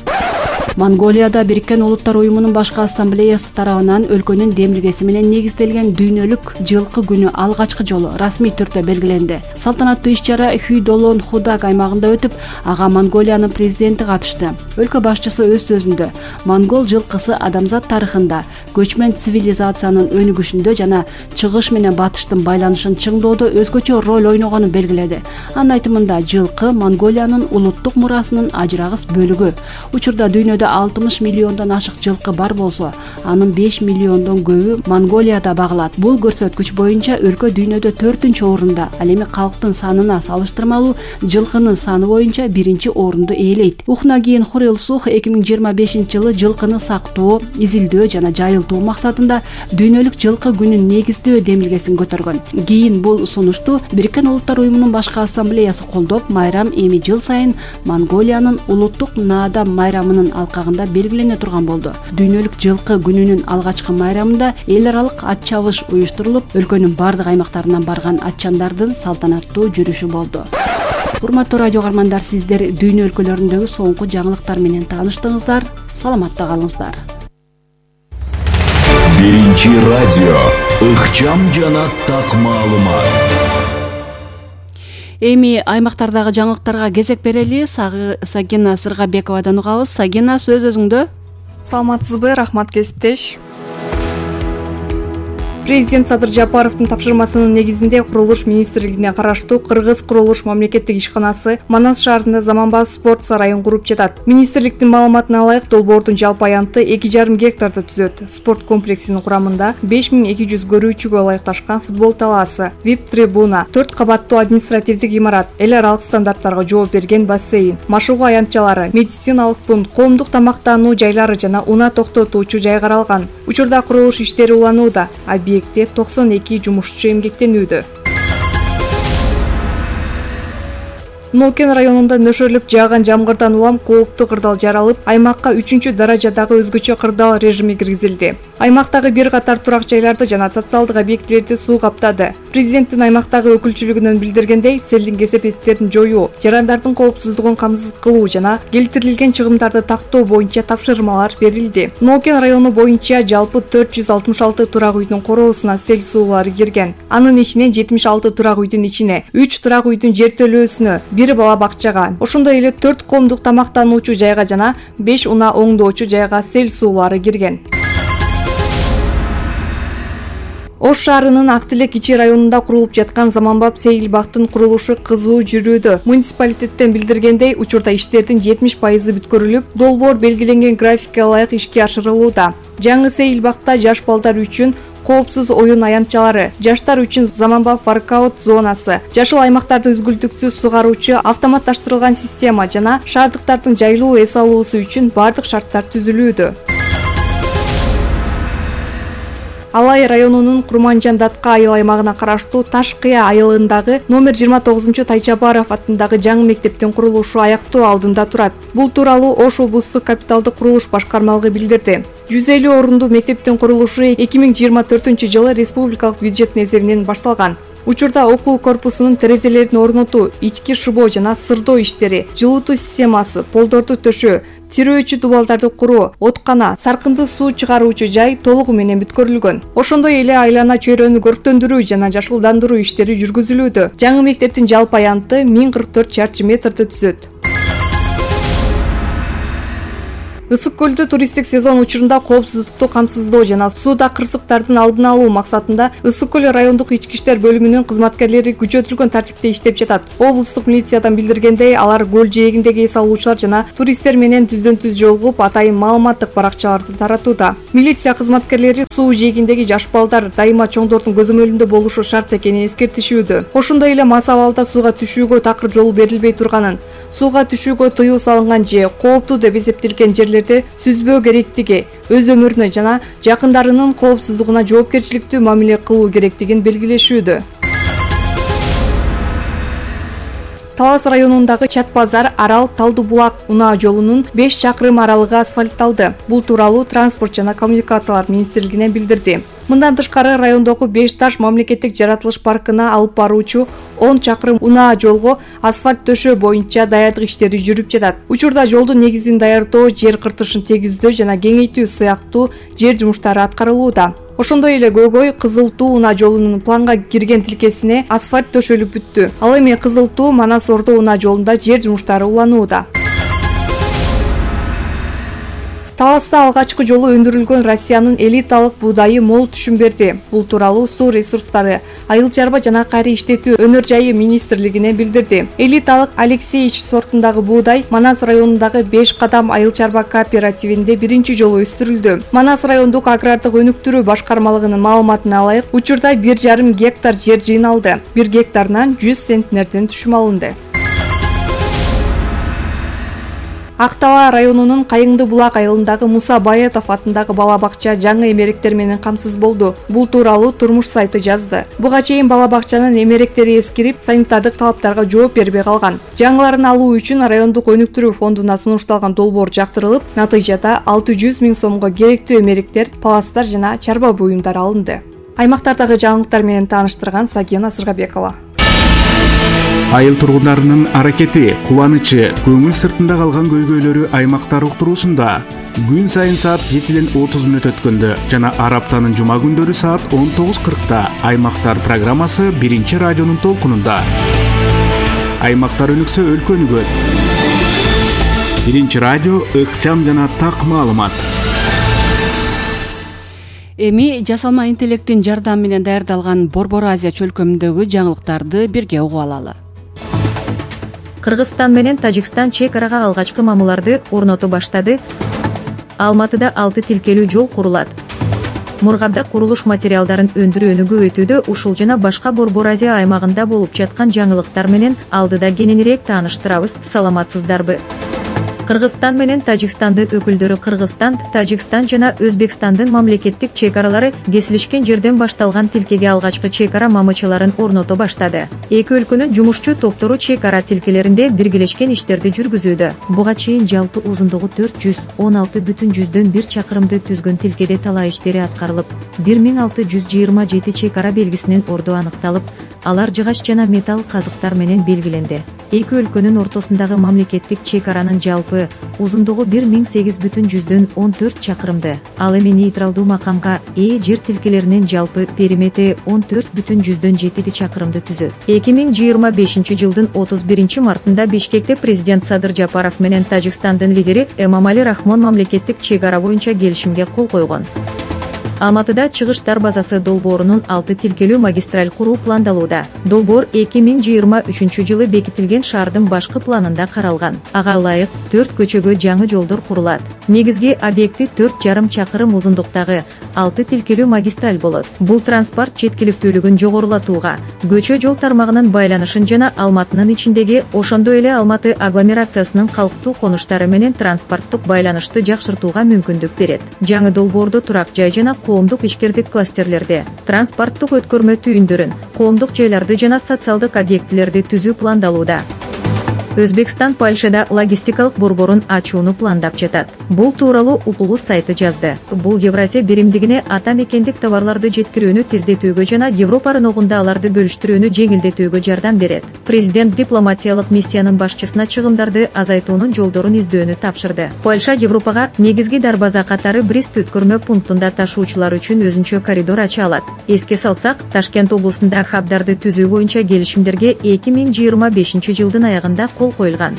Монголияда Бириккен Улуттар уюмунун башкы ассамблеясы тарабынан өлкөнүн демилгеси менен негизделген дүйнөлүк жылкы күнү алгачкы жолу расмий түрдө белгиленди. Салтанаттуу иш-чара Хүйдолон Худаг аймагында өтүп, ага Монголиянын президенти катышты. Өлкө башчысы өз сөзүндө монгол жылкысы адамзат тарыхында көчмөн цивилизациянын өнүгүшүндө жана чыгыш менен батыштын байланышын чыңдоодо өзгөчө роль ойногонун белгиледи. Анын айтымында жылкы Монголиянын улуттук мурасынын ажырагыс бөлүгү. Учурда дүйнөдө 60 миллиондон ашык жылкы бар болсо, анын 5 миллиондон көбү Монголияда багылат. Бул көрсөткүч боюнча өлкө дүйнөдө 4-орунда, ал эми калктын санына салыштырмалуу жылкынын саны боюнча 1-орунду ээлейт. Ухнагиин Хурилсух 2025-жылы жылкыны сактоо, изилдөө жана жайылтуу максатында дүйнөлүк жылкы күнүн негиздөө демилгесин көтөргөн. Кийин бул сунушту Бириккен Улуттар уюмунун башкы ассамблеясы колдоп, майрам эми жыл сайын Монголиянын улуттук наадам майрамынын алкагында белгилене турган болду. Дүйнөлүк жылкы күнүнүн алгачкы майрамында эл аралык ат чабыш уюштурулуп, өлкөнүн бардык аймактарынан барган атчандардын салтанаттуу жүрүшү болду. Урматтуу радио каармандар, сиздер дүйнө өлкөлөрүндөгү соңку жаңылыктар менен тааныштыңыздар. Саламатта калыңыздар. Биринчи радио ыкчам жана так маалымат. Эми аймактардагы жаңылыктарга кезек берели. Сагина Сыргабековадан угабыз. Сагина, сөз өзүңдө. Саламатсызбы, рахмат кесиптеш. Президент Садыр Жапаровдун тапшырмасынын негизинде Курулуш министрлигине караштуу Кыргыз Курулуш мамлекеттик ишканасы Манас шаарында заманбап спорт сарайын куруп жатат. Министрликтин маалыматына ылайык, долбоордун жалпы аянты 2,5 гектарды түзөт. Спорт комплексинин курамында 5200 көрүүчүгө ылайыкташкан футбол талаасы, VIP трибуна, 4 кабаттуу административдик имарат, эл аралык стандарттарга жооп берген бассейн, машыгуу аянтчалары, медициналык пункт, коомдук тамактануу жайлары жана унаа токтотуучу жай каралган. Учурда курулуш иштери уланууда. Объектте 92 жумушчу эмгектенүүдө. Нокен районунда нөшөрлүп жааган жамгырдан улам кооптуу кырдаал жаралып, аймакка 3-даражадагы өзгөчө кырдаал режими киргизилди. Аймактагы бир катар турак жайларды жана социалдык объектилерди суу каптады. Президенттин аймактагы өкүлчүлүгүнөн билдиргендей, селдин кесепеттерин жоюу, жарандардын коопсуздугун камсыз кылуу жана келтирилген чыгымдарды тактоо боюнча тапшырмалар берилди. Нокен району боюнча жалпы 466 турак үйдүн короосуна сел суулары кирген. Анын ичинен 76 турак үйдүн ичине, 3 турак үйдүн жертөлөөсүнө, 1 бала бакчага, ошондой эле 4 коомдук тамактануучу жайга жана 5 унаа оңдоочу жайга сел суулары кирген. Ош шаарынын Актилек ичи районунда курулуп жаткан заманбап сейил бактын курулушу кызуу жүрүүдө. Муниципалитеттен билдиргендей, учурда иштердин 70% бүткөрүлүп, долбоор белгиленген графикке ылайык ишке ашырылууда. Жаңы сейил бакта жаш балдар үчүн коопсуз оюн аянтчалары, жаштар үчүн заманбап воркаут зонасы, жашыл аймактарды үзгүлтүксүз сугаруучу автоматташтырылган система жана шаардыктардын жайлуу эс алуусу үчүн бардык шарттар түзүлүүдө. Алай районунун Курманжан Датка айыл аймагына караштуу Таш Кыя айылындагы номер 29 Тайчабаров атындагы жаңы мектептин курулушу аяктоо алдында турат. Бул тууралуу Ош облустук капиталдык курулуш башкармалыгы билдирди. 150 орундуу мектептин курулушу 2024-жылы республикалык бюджеттин эсебинен башталган. Учурда окуу корпусунун терезелерин орнотуу, ички шыбоо жана сырдоо иштери, жылытуу системасы, полдорду төшөө, тирөөчү дубалдарды куруу, откана, саркынды суу чыгаруучу жай толугу менен бүткөрүлгөн. Ошондой эле айлана чөйрөнү көрктөндүрүү жана жашылдандыруу иштери жүргүзүлүүдө. Жаңы мектептин жалпы аянты 1044 чарчы метрди түзөт. Ысык көлдө туристтик сезон учурунда коопсуздукту камсыздоо жана сууда кырсыктардын алдын алуу максатында Ысык көл райондук ички иштер бөлүмүнүн кызматкерлери күчөтүлгөн тартипте иштеп жатат. Облустук милициядан билдиргендей, алар көл жээгиндеги эс алуучулар жана туристтер менен түздөн-түз жолугуп, атайын маалыматтык баракчаларды таратууда. Милиция кызматкерлери суу жээгиндеги жаш балдар дайыма чоңдордун көзөмөлүндө болушу шарт экенин эскертишүүдө. Ошондой эле мас абалда сууга түшүүгө такыр жол берилбей турганын, сууга түшүүгө тыюу салынган же кооптуу деп эсептелген жерлер сүзбөө керектиги, өз өмүрүнө жана жакындарынын коопсуздугуна жоопкерчиликтүү мамиле кылуу керектигин белгилешүүдө. Талас районундагы Чат базар Арал Талдуу булак унаа жолунун 5 чакырым аралыгы асфальтталды. Бул тууралуу Транспорт жана коммуникациялар министрлигинен билдирди. Мындан тышкары райондогу 5 таш мамлекеттик жаратылыш паркына алып баруучу 10 чакырым унаа жолго асфальт төшөө боюнча даярдык иштери жүрүп жатат. Учурда жолдун негизин даярдоо, жер кыртышын тегиздөө жана кеңейтүү сыяктуу жер жумуштары аткарылууда. Ошондой эле Көйгөй Кызыл Туу унаа жолунун планга кирген тилкесине асфальт төшөлүп бүттү. Ал эми Кызыл Туу Манас Ордо унаа жолунда жер жумуштары уланууда. Таласта алгачкы жолу өндүрүлгөн Россиянын элиталык буудайы мол түшүм берди. Бул тууралуу Суу ресурстары, айыл чарба жана кайра иштетүү өнөр жайы министрлигине билдирди. Элиталык Алексеевич сортундагы буудай Манас районундагы 5 кадам айыл чарба кооперативинде биринчи жолу өстүрүлдү. Манас райондук агрардык өнүктүрүү башкармалыгынын маалыматына ылайык, учурда 1,5 гектар жер жыйналды. 1 гектарынан 100 центнерден түшүм алынды. Актала районунун Кайыңды булак айылындагы Муса Баетов атындагы бала бакча жаңы эмеректер менен камсыз болду. Бул тууралуу Турмуш сайты жазды. Буга чейин бала бакчанын эмеректери эскирип, санитардык талаптарга жооп бербей калган. Жаңыларын алуу үчүн райондук өнүктүрүү фондуна сунушталган долбоор жактырылып, натыйжада 600 000 сомго керектүү эмеректер, паластар жана чарба буюмдар алынды. Аймактардагы жаңылыктар менен тааныштырган Сагена Сыргабекова. Айыл тургундарынын аракети, кубанычы, көңүл сыртында калган көйгөйлөрү аймактар уктуруусунда күн сайын саат 7:30 өткөндө жана ар аптанын жума күндөрү саат 19:40 аймактар программасы биринчи радионун толкунунда. Аймактар өнүксө өлкө өнүгөт. Биринчи радио ыкчам жана так маалымат. Эми жасалма интеллекттин жардамы менен даярдалган Борбор Азия чөлкөмүндөгү жаңылыктарды бирге угуп алалы. Кыргызстан менен Тажикстан чек арага алгачкы мамыларды орното баштады. Алматыда 6 тилкелүү жол курулат. Мургабда курулуш материалдарын өндүрүү өнүгүүтүдө ушул жана башка Борбор Азия аймагында болуп жаткан жаңылыктар менен алдыда кененирээк тааныштырабыз. Саламатсыздарбы? Кыргызстан менен Тажикстандын өкүлдөрү Кыргызстан, Тажикстан жана Өзбекстандын мамлекеттик чек аралары кесилишкен жерден башталган тилкеге алгачкы чек ара мамычаларын орното баштады. Эки өлкөнүн жумушчу топтору чек ара тилкелеринде биргелешкен иштерди жүргүзүүдө. Буга чейин жалпы узундугу 416,1 чакырымды түзгөн тилкеде талаа иштери аткарылып, 1627 чек ара белгисинин орду аныкталып, алар жыгач жана металл казыктар менен белгиленди. Эки өлкөнүн ортосундагы мамлекеттик чек аранын жалпы узундугу 1814 чакырымды. Ал эми нейтралдуу макамга ээ жер тилкелеринин жалпы периметри 14,7 чакырымды түзөт. 2025 жылдын 31 мартында Бишкекте президент Садыр Жапаров менен Тажикстандын лидери Эмомали Рахмон мамлекеттик чек ара боюнча келишимге кол койгон. Алматыда чыгыштар базасы долбоорунун 6 тилкелүү магистраль куруу пландалууда. Долбоор 2023 жылы бекитилген шаардын башкы планында каралган. Ага ылайык 4 көчөгө жаңы жолдор курулат. Негизги объекти 4,5 чакырым узундуктагы 6 тилкелүү магистраль болот. Бул транспорт жеткиликтүүлүгүн жогорулатууга, көчө жол тармагынын байланышын жана Алматынын ичиндеги, ошондой эле Алматы агломерациясынын калктуу конуштары менен транспорттук байланышты жакшыртууга мүмкүндүк берет. Жаңы долбоордо турак жай жана коомдук ишкердик класстерлерди, транспорттук өткөрмө түйүндөрүн, коомдук жайларды жана социалдык объектилерди түзүү пландалууда. Өзбекстан Польшада логистикалык борборун ачууну пландап жатат. Бул тууралуу Укулус сайты жазды. Бул Евразия биримдигине ата мекендик товарларды жеткирүүнү тездетүүгө жана Европа рыногунда аларды бөлүштүрүүнү жеңилдетүүгө жардам берет. Президент дипломатиялык миссиянын башчысына чыгымдарды азайтуунун жолдорун издөөнү тапшырды. Польша Европага негизги дарбаза катары Брест өткөрмө пунктунда ташуучулар үчүн өзүнчө коридор ача алат. Эске салсак, Ташкент облусунда хабдарды түзүү боюнча келишимдерге 2025 жылдын аягында кол коюлган.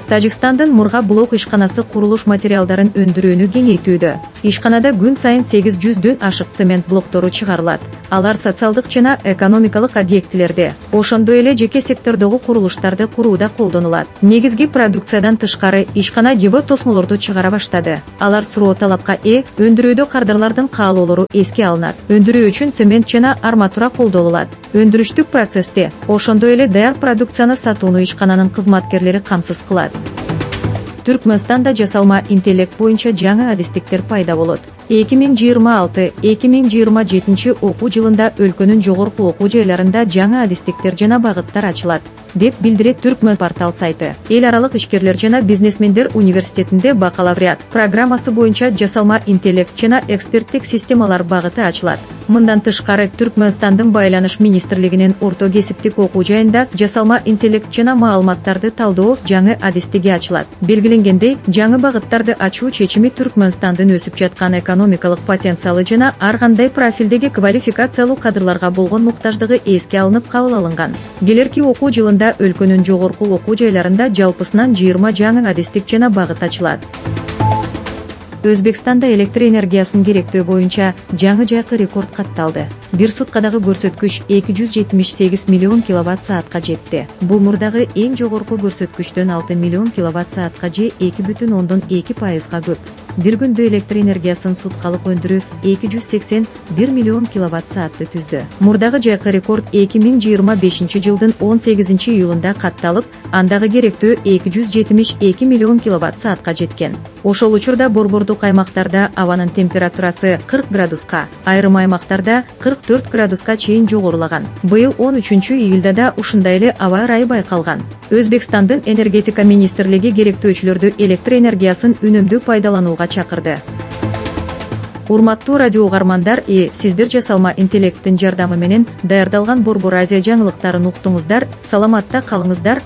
Тажикстандын Мурга блок ишканасы курулуш материалдарын өндүрүүнү кеңейтүүдө. Ишканада күн сайын 800дөн ашык цемент блоктору чыгарылат. Алар социалдык жана экономикалык объектилерде, ошондой эле жеке сектордогу курулуштарды курууда колдонулат. Негизги продукциядан тышкары ишкана Евро тосмолорду чыгара баштады. Алар суроо талапка ээ, өндүрүүдө кардарлардын каалоолору эске алынат. Өндүрүү үчүн цемент жана арматура колдонулат. Өндүрүштүк процессте, ошондой эле даяр продукцияны сатууну ишкананын кызматкерлери камсыз кылат. Түркмөнстанда жасалма интеллект боюнча жаңы адистиктер пайда болот. 2026-2027 окуу жылында өлкөнүн жогорку окуу жайларында жаңы адистиктер жана багыттар ачылат, деп билдирет Түркмөн портал сайты. Эл аралык ишкерлер жана бизнесмендер университетинде бакалавриат программасы боюнча жасалма интеллект жана эксперттик системалар багыты ачылат. Мындан тышкары Түркмөнстандын байланыш министрлигинин орто кесиптик окуу жайында жасалма интеллект жана маалыматтарды талдоо жаңы адистиги ачылат. Белгиленгендей, жаңы багыттарды ачуу чечими Түркмөнстандын өсүп жаткан экономикалык потенциалы жана ар кандай профилдеги квалификациялуу кадрларга болгон муктаждыгы эске алынып кабыл алынган. Келерки окуу жылында өлкөнүн жогорку окуу жайларында жалпысынан 20 жаңы адистик жана багыт ачылат. Өзбекстанда электр энергиясын керектөө боюнча жаңы жайкы рекорд катталды. Бир суткадагы көрсөткүч 278 миллион киловатт-саатка жетти. Бул мурдагы эң жогорку көрсөткүчтөн 6 миллион киловатт-саатка же 2,2%га көп. Бир күндө электр энергиясын суткалык өндүрүү 281 миллион киловатт-саатты түздү. Мурдагы жайкы рекорд 2025 жылдын 18 июлунда катталып, андагы керектөө 272 миллион киловатт-саатка жеткен. Ошол учурда борбордук аймактарда абанын температурасы 40 градуска, айрым аймактарда 44 градуска чейин жогорулаган. Быйыл 13 июлда да ушундай эле аба ырайы байкалган. Өзбекстандын энергетика министрлиги керектөөчүлөрдү электр энергиясын үнөмдүү пайдаланууга чакырды. Урматтуу радио угармандар, сиздер жасалма интеллекттин жардамы менен даярдалган Борбор Азия жаңылыктарын уктуңуздар. Саламатта калыңыздар.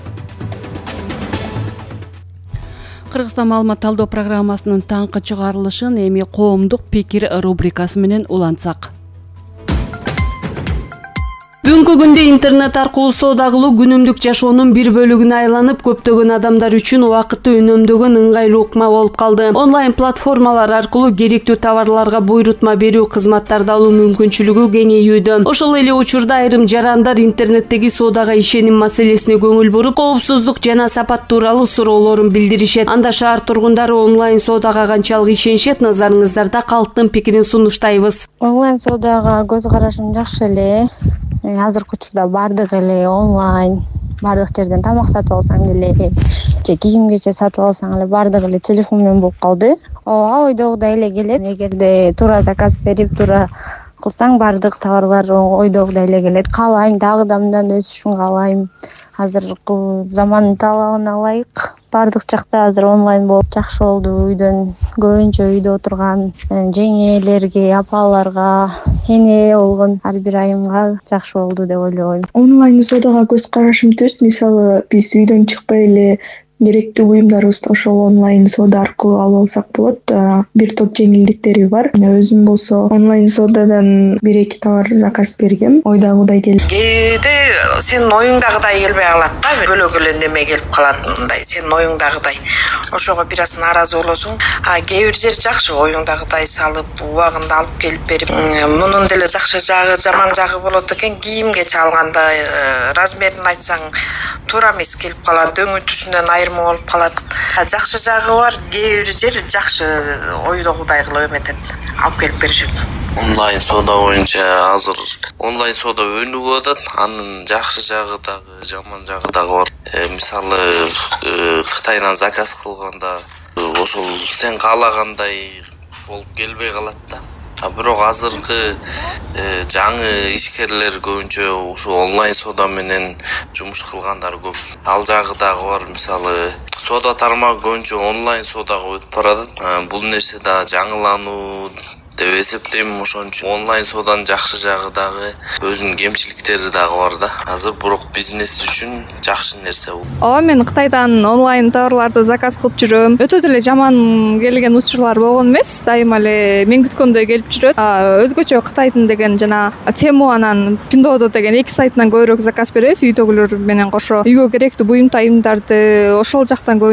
Кыргызстан маалымат талдоо программасынын таңкы чыгарылышын эми коомдук пикир рубрикасы менен улантсак. Бүгүнкү күндө интернет аркылуу соода кылуу күнүмдүк жашоонун бир бөлүгүнө айланып, көптөгөн адамдар үчүн убакытты үнөмдөгөн ыңгайлуу ыкма болуп калды. Онлайн платформалар аркылуу керектүү товарларга буйрутма берүү, кызматтарды алуу мүмкүнчүлүгү кеңейүүдө. Ошол эле учурда айрым жарандар интернеттеги соодага ишеним маселесине көңүл буруп, коопсуздук жана сапат тууралуу суроолорун билдиришет. Анда шаар тургундары онлайн соодага канчалык ишенишет, назарыңыздарда калктын пикирин сунуштайбыз. Онлайн соодага көз карашым жакшы эле. Азыркы учурда бардык эле онлайн, бардык жерден тамак сатып алсаң деле, же кийим кече сатып алсаң эле бардык эле телефон менен болуп калды. Ооба, ойдогудай эле келет. Эгерде туура заказ берип, туура кылсаң бардык товарлар ойдогудай эле келет. Каалайм, дагы да мындан өсүшүн каалайм. Азыркы замандын талабына ылайык бардык жакта азыр онлайн болуп жакшы болду. Үйдөн көбүнчө үйдө отурган жеңелерге, апаларга, эне болгон ар бир айымга жакшы болду деп ойлойм. Онлайн соодага көз карашым түз. Мисалы, биз үйдөн чыкпай эле керектүү буюмдарыбызды ошол онлайн соода аркылуу алып алсак болот. Бир топ жеңилдиктери бар. Өзүм болсо онлайн соодадан 1-2 товар заказ бергем. Ойдагыдай келет. Кээде сенин оюңдагыдай келбей калат да, бөлөк эле неме келип калат, мындай сенин оюңдагыдай. Ошого бир аз нааразы болосуң. Кээ бир жер жакшы, оюңдагыдай салып, убагында алып келип берип. Мунун деле жакшы жагы, жаман жагы болот экен. Кийимге чалганда размерин айтсаң туура эмес келип калат, өңүтүшүнөн айырма болуп калат. Жакшы жагы бар, кээ бир жер жакшы ойдогудай кылып эметет, алып келип беришет. Онлайн соода боюнча азыр онлайн соода өнүгүп атат. Анын жакшы жагы дагы, жаман жагы дагы бар. Мисалы, Кытайдан заказ кылганда ошол сен каалагандай болуп келбей калат да. Бирок азыркы жаңы ишкерлер көбүнчө ушу онлайн соода менен жумуш кылгандар көп. Ал жагы дагы бар. Мисалы, соода тармагы көбүнчө онлайн соодага өтүп баратат. Бул нерсе да жаңылануу деп эсептейм. Ошон үчүн онлайн сооданын жакшы жагы дагы, өзүнүн кемчиликтери дагы бар да. Азыр бирок бизнес үчүн жакшы нерсе бул. Ооба, мен Кытайдан онлайн товарларды заказ кылып жүрөм. Өтө деле жаман келген учурлар болгон эмес. Дайыма эле мен күткөндөй келип жүрөт. Өзгөчө Кытайдын деген жана Temu анан Pinduoduo деген эки сайтынан көбүрөөк заказ беребиз. Үйдөгүлөр менен кошо үйгө керектүү буюм тайымдарды ошол жактан